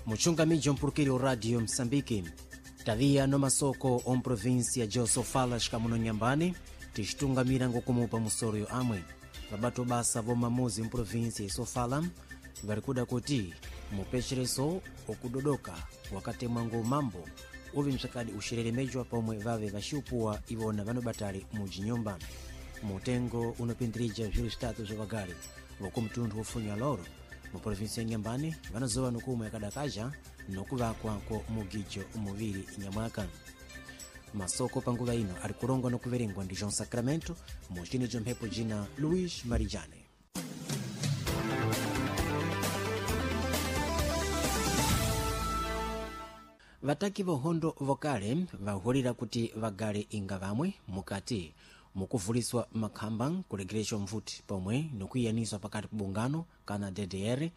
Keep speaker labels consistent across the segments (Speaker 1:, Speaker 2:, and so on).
Speaker 1: Muchungamiji mpulukiri wa Radio Msambiki taviya no masoko om província de Sofala xikamuno nyambani ticitungamira ngokumupa musoro yo amwe vabato basa vomamuzi mprovíncia ya Sofala vari kuda kuti mupechereso okudodoka wakatemwa ngo mambo uve msakadi uxereremejwa pomwe vave vaxiupuwa ivona vanobatali mujinyumba. Mutengo unopindirija zviro zvitatu zva vagari vokumtundu wofunya loro muprovinsi ya Nyambani vanozowa nokumwe yakadakaja nokuvakwa kwa mugijo muviri nyamwaka. Masoko panguva ino ari kulongwa nokuverengwa ndi João Sacramento mucinijo mphepo jina Luís Marijane. Vataki vohondo vokale vahulira kuti vagale inga vamwe mukati mukuvuliswa makhamba kulegereshwa mvuti pomwe nokuiyaniswa pakati pa bungano kana DDR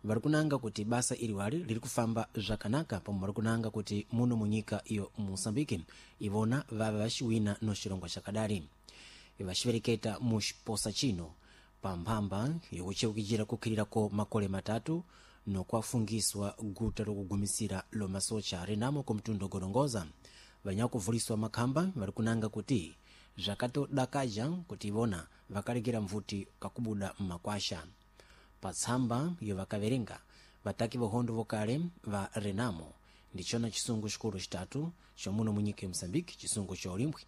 Speaker 1: vari kunanga kuti basa iliwali liri kufamba zvakanaka pomwe vari kunanga kuti muno munyika iyo Moçambique ivona vave vaxiwina no xilongwa xakadali. Vaxivereketa mu xiposa chino pa mphamba yokucheukijira kukhilirako makole matatu nokwafungiswa guta lokugumisira lomasocha renamo kumtundu gorongoza. Vanyakuvuliswa makhamba vari kunanga kuti zvakatodakaja kuti ivona vakalegera mvuti kakubuda mmakwasha. Patsamba yo vakaverenga vataki vohondo vokale va Renamo ndichona chisungu chikulu chitatu chomuno munyika ya Moçambique, chisungu cha ulimbwi,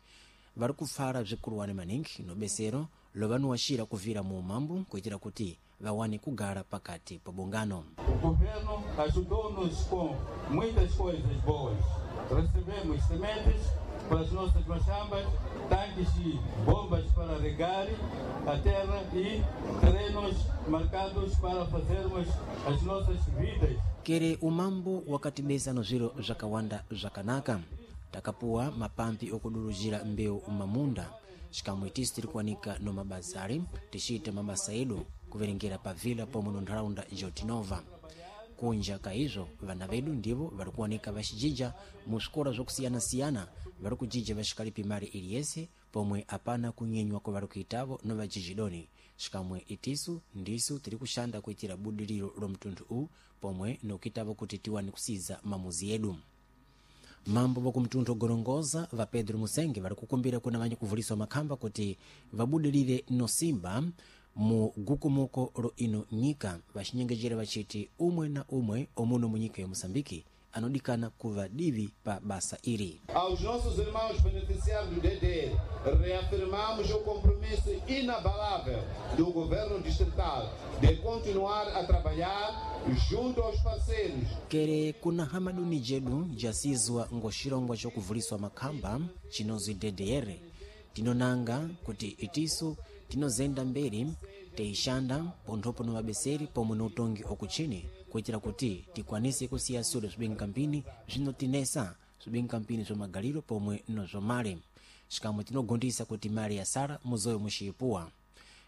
Speaker 1: vari kufara bzikuluwani maningi nobesero lovanuwaxira kuvira mu umambo kuitira kuti vawane kugara pakati pa bungano.
Speaker 2: O governo ajudou-nos com muitas coisas boas. Recebemos sementes para as nossas machambas, tanques e bombas para regar a terra e terrenos marcados para fazermos as nossas vidas.
Speaker 1: Kere umambo wakatibesa no zviro zvakawanda zvakanaka. Takapuwa mapampi okuduruzira mbewu mamunda xikamwe tisi tiri kuwanika no mabazari ticiita mabasa edu kuverengera pa vila pomwe no ntharaunda jotinova. Kunja ka izvo vana vedu ndivo vari kuwanika vaxijija mu swikola zvakusiyana-siyana, vari kujija vaxikalipi mali iliyese pomwe apana kunyenywa kwa vari kuitavo no vajijidoni. Xikamwe itisu ndisu tiri kuxanda kuitira budiriro lo mtunthu uwu pomwe nokuitavo kuti tiwane kusiza mamuzi edu. Mambo vokumtunthu gorongoza va Pedro Musenge vari kukumbira kuna vanyakuvuliswa makhamba kuti vabudirire nosimba mu gukumuko lo ino nyika, vaxinyengejera vachiti umwe na umwe omuno munyika ya Moçambique anodikana kuva divi pa basa iri.
Speaker 2: Aos nossos irmãos beneficiários do DDR, reafirmamos o compromisso inabalável do governo distrital de continuar a trabalhar junto aos parceiros.
Speaker 1: Kere kuna hamaduni jedu jasizwa ngoxilongwa xokuvuliswa makhamba chinozwi DDR, tinonanga kuti itisu tinozenda mberi teixanda ponthopo no vabeseri pomwe no utongi okuchini kuitira kuti tikwanise kusiya sule zwibingampini zvinotinesa, zwibingampini zvomagaliro pomwe no zvomale. Xikamwe tinogondisa kuti mali ya sala muzoyo muxiyipuwa.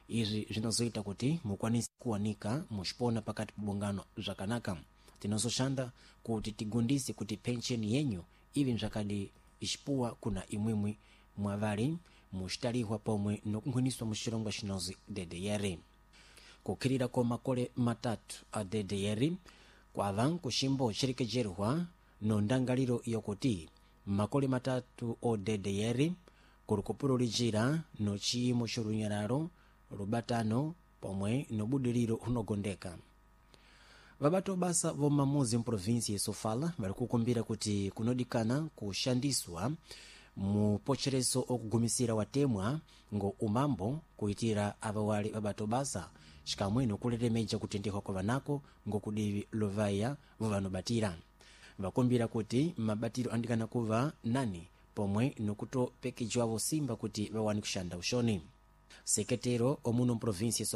Speaker 1: Izvi zvinozoita kuti mukwanise kuwanika muxipona pakati pa bungano zvakanaka. Tinozoxanda kuti tigondise kuti pensheni yenyu ive mzvakadi ixipuwa kuna imwimwi mwavali muxitalihwa pomwe nokunkhwiniswa muxilongwa xinozwi DDR. Kukhirira kwa makole matatu a DDR kwava nkuximbo xirekejerwa no ndangaliro yokuti makole matatu o DDR kuli kupululijira no ciyimo xolunyalalo, lubatano pomwe nobudiriro hunogondeka. Vabato basa vomamuzi mprovinsi ya Sofala vari kukumbira kuti kunodikana kuxandiswa mupochereso okugumisira watemwa ngo umambo kuitira ava wali vabato basa xikamwe nokuleremeja kutendehwa kwa vanako ngokudivi lovaya vovanobatira. Vakumbira kuti mabatiro andikana kuva nani pomwe nokutopekejwavo simba kuti vawane kuxanda uxoni. Seketero omuno mprovinsi ya